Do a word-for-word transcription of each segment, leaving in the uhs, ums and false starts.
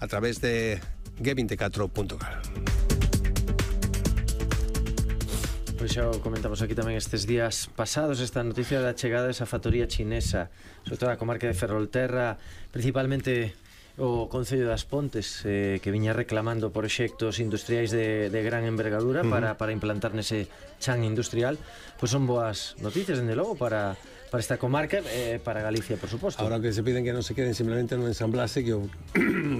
a través de G veinticuatro punto gal. Pois xa o comentamos aquí tamén estes días pasados, esta noticia da chegada desa factoría chinesa, sobre todo a comarca de Ferrolterra, principalmente o Concello das Pontes, eh, que viña reclamando proxectos industriais de, de gran envergadura uh -huh. para, para implantar nese chan industrial. Pois son boas noticias, dende logo, para, para esta comarca e eh, para Galicia, por suposto. Ahora que se piden que non se queden simplemente no ensamblase, que o,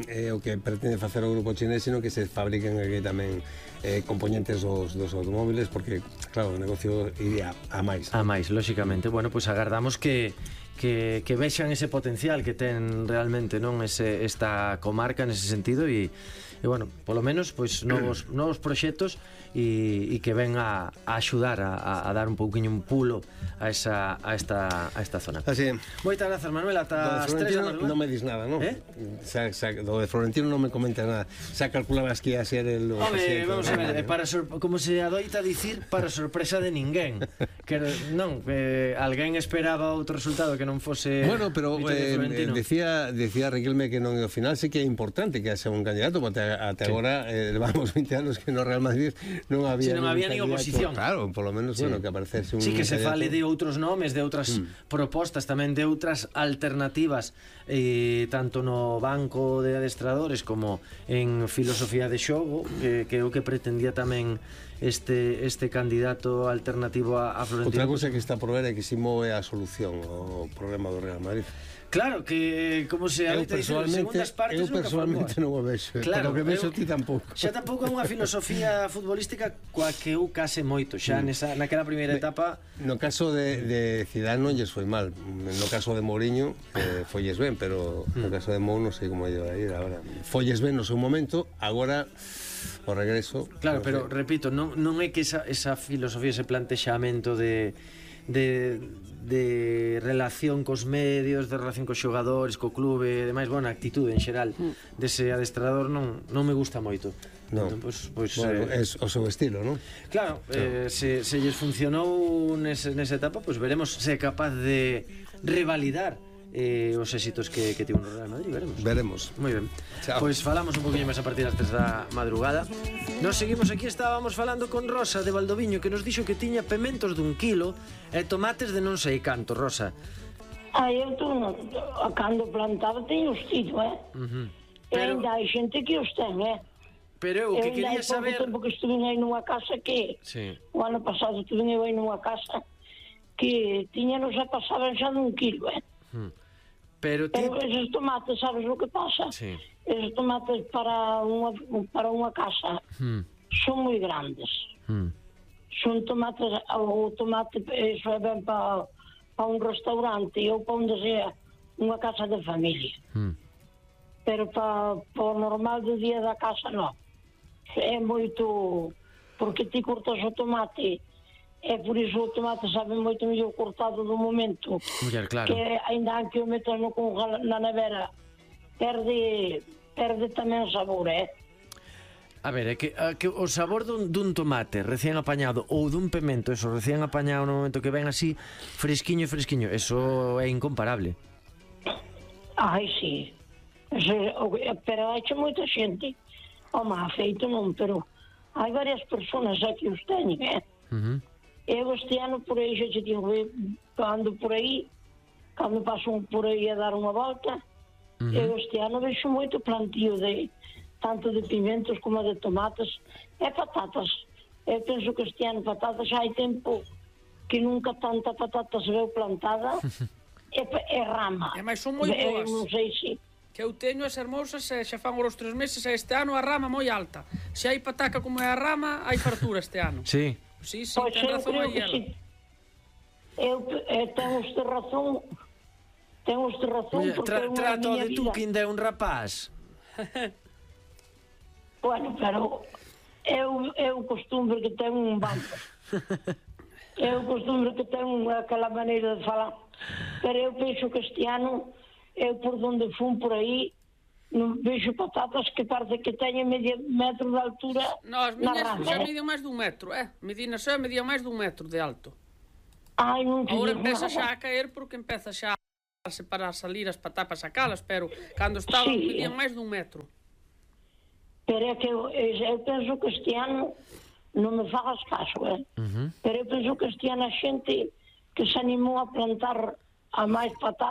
eh, o que pretende facer o grupo chinés, sino que se fabriquen aquí tamén eh, componentes dos, dos automóviles, porque, claro, o negocio iría a máis. A máis, lóxicamente. Bueno, pois pues agardamos que que, que vexan ese potencial que ten realmente, non, ese, esta comarca nese sentido e, e bueno, polo menos pois novos, novos proxectos e, e que ven a, a axudar a, a dar un pouquiño un pulo a esa a esta a esta zona. Así. Moitas grazas, Manuel, ata as tres da madrugada. Non me dis nada, non? Eh? Xa, xa, do de Florentino non me comenta nada. Xa calculabas que ia ser el o Home, vamos a ver, para sor, como se adoita dicir, para sorpresa de ninguén. Que non, que alguén esperaba outro resultado que non fose. Bueno, pero eh, decía decía Riquelme que non ao final sí que é importante que haxa un candidato, porque até sí. agora eh, levamos veinte anos que no Real Madrid non había, si non había nin oposición. Claro, polo menos, sí. bueno, que aparecese un. Sí, que se fale de outros nomes, de outras mm. propostas, tamén de outras alternativas, eh, tanto no banco de adestradores como en filosofía de xogo, que, que é o que pretendía tamén este este candidato alternativo a, a Florentino. Outra cousa que está por ver é que si move a solución ao problema do Real Madrid. Claro, que como se eu personalmente, partes, eu personalmente non o vexo, claro, pero que vexo ti tampouco. Xa tampouco é unha filosofía futbolística coa que eu case moito, xa mm. nesa, naquela primeira etapa. No caso de, de Zidane non lles foi mal, no caso de Mourinho eh, folles ben, pero mm. no caso de Mou non sei como lle vai ir agora. Folles ben no seu momento, agora o regreso. Claro, no pero sé. Repito, non, non é que esa, esa filosofía, ese plantexamento de de, de relación cos medios, de relación cos xogadores, co clube e demais, bueno, a actitude en xeral mm. dese adestrador non, non me gusta moito. Non, entón, pues, pues, bueno, eh, é o seu estilo, non? Claro, eh, se, se lles funcionou nese, nesa etapa, pues veremos se é capaz de revalidar eh, os éxitos que, que tivo no Real Madrid, veremos. Veremos. Moi ben. Chao. Pois falamos un poquinho máis a partir das tres da madrugada. Nos seguimos aquí, estábamos falando con Rosa de Valdoviño, que nos dixo que tiña pementos dun kilo e tomates de non sei canto, Rosa. Ah, eu tu, a cando plantaba teño os tido, eh? Uh -huh. Pero... E ainda hai xente que os ten, eh? Pero eu que quería saber... Eu ainda hai pouco tempo que estuve aí nunha casa que... Sí. O ano pasado estuve aí nunha casa que tiñanos a pasaban xa dun kilo, eh? Hmm. Pero, ti... Pero esos tomates, sabes o que pasa? Sí. Esos tomates para unha, para unha casa hmm. son moi grandes. Hmm. Son tomates, o tomate eso é ben para pa un restaurante ou para onde sea unha casa de familia. Hmm. Pero para pa o normal do día da casa non. É moito, porque ti cortas o tomate. É por iso o tomate sabe moito mellor cortado do momento. Muller, claro. Que ainda que o metas no congela na nevera perde perde tamén o sabor, eh? A ver, é que, a, que o sabor dun, dun tomate recién apañado ou dun pemento, eso recién apañado no momento que ven así fresquiño, fresquiño, eso é incomparable. Ai, sí. Eso, pero hai moita xente. Home, feito non, pero hai varias persoas aquí os teñen, eh? Uh -huh. Eu este ano por aí xa te digo, cando por aí, cando paso por aí a dar unha volta, uh -huh. eu este ano vexo moito plantío de tanto de pimentos como de tomates e patatas. Eu penso que este ano patatas xa hai tempo que nunca tanta patata se veu plantada e, e rama. E máis son moi boas. Eu non sei se que eu teño as hermosas e xa fan os tres meses e este ano a rama moi alta. Se hai pataca como é a rama, hai fartura este ano. Sí. Sí, sí, pois ten razón aí ela. Sí. Eu, eu tenho este razón, tenho este razón Oye, porque tra, trato de vida. tú que ainda é un rapaz. Bueno, pero eu, eu costumbre que tenho un banco. Eu costumbre que tenho aquela maneira de falar. Pero eu penso que este ano, eu por onde fun por aí, non vexo patatas que parece que teñen medio metro de altura. No, as miñas xa eh? median máis dun metro, eh? Medina xa median máis dun metro de alto. Ai, non te Agora digo empeza nada. xa a caer porque empeza xa a separar, salir as patatas, sacalas, pero cando estaban sí. medían máis dun metro. pero é que eu, eu penso que este ano, non me fagas caso, eh? Uh-huh. Pero eu penso que este ano a xente que se animou a plantar a máis patatas